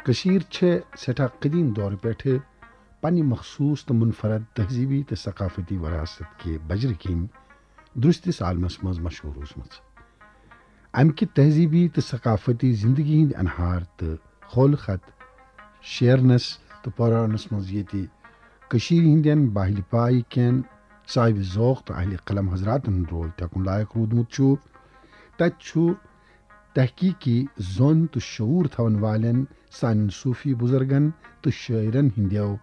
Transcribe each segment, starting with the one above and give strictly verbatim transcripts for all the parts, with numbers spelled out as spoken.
کٔشیٖر چھےٚ سٮ۪ٹھاہ قدیٖم دورٕ پٮ۪ٹھٕ پننہِ مخصوٗص تہٕ منفرد تہذیٖبی تہٕ ثقافتی وراثت کہِ بجرٕ کِنۍ درٛستِس عالمس منٛز مشہوٗر روٗزمٕژ۔ امہِ کہِ تہذیٖبی تہٕ ثقافتی زندگی ہٕنٛدۍ انہار تہٕ خول خط شیرنس تہٕ پرارنس منٛز ییٚتہِ کٔشیٖرِ ہٕنٛدٮ۪ن بااہلِ پایہِ کٮ۪ن صاحبِ ذوق تہٕ اہلِ قلم حضراتن ہُنٛد رول تھٮ۪کُن لایق روٗدمُت چھُ، تتہِ چھُ تحقیقی زون تہٕ شعوٗر تھاون والٮ۪ن سانٮ۪ن صوٗفی بُزرگن تہٕ شٲعرن ہٕنٛدٮ۪و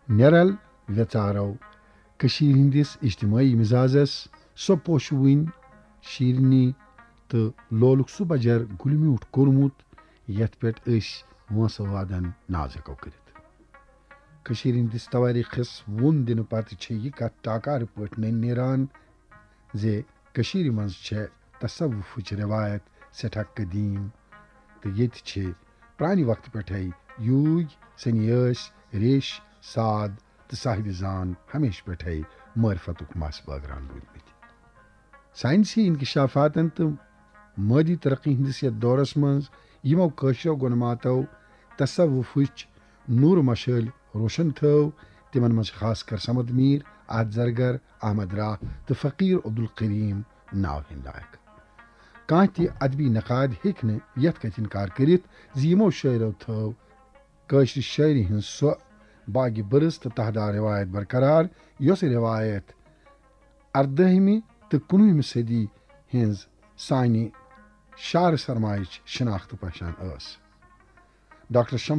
نیرل ویژارو کٔشیٖرِ ہٕنٛدِس اجتمٲعی مزازس سۄ پوشوٕنۍ شیٖرنی تہٕ لولُک سُہ بجر گُلہِ میوٗٹھ کوٚرمُت، یتھ پٮ۪ٹھ أسۍ وٲنٛسہٕ وادن ناز ہٮ۪کو کٔرِتھ۔ کٔشیٖرِ ہٕنٛدِس توٲریٖخس وُن دِنہٕ پتہٕ چھےٚ یہِ کتھ ٹاکارٕ پٲٹھۍ نٔنۍ نیران زِ کٔشیٖرِ منٛز چھےٚ تصوفٕچ رٮ۪وایت سٮ۪ٹھاہ قدیٖم تہٕ ییٚتہِ چھِ پرٛانہِ وقتہٕ پٮ۪ٹھَے یوٗگۍ، سنیٲسۍ، ریش، ساد تہٕ صاحبِ زان ہمیشہٕ پٮ۪ٹھَے معرفتُک مس بٲگراوان روٗدمٕتۍ۔ ساینسی انکشافاتن تہٕ مٲدی ترقی ہٕنٛدِس یتھ دورس منٛز یِمو کٲشرٮ۪و گۄنماتو تصوفٕچ نوٗر مشٲلۍ روشن تھٲو، تِمن منٛز چھِ خاص کر صمد میٖر، احد زرگر، احمد راہ تہٕ فقیٖر عبدالکریم ناو ہٮ۪نۍ لایق۔ کانٛہہ تہِ ادبی نقاد ہیٚکہِ نہٕ یتھ کتھِ انکار کٔرِتھ زِ یِمو شٲعرو تھٲو کٲشرِ شٲعری ہٕنٛز سۄ باگِ برٕژ تہٕ تہدار رٮ۪وایت برقرار، یۄس رٮ۪وایت اردٲہمہِ تہٕ کُنوُہمہِ صدی ہٕنٛز سانہِ شعر سرمایچ شناخت پہچان ٲس۔ ڈاکٹر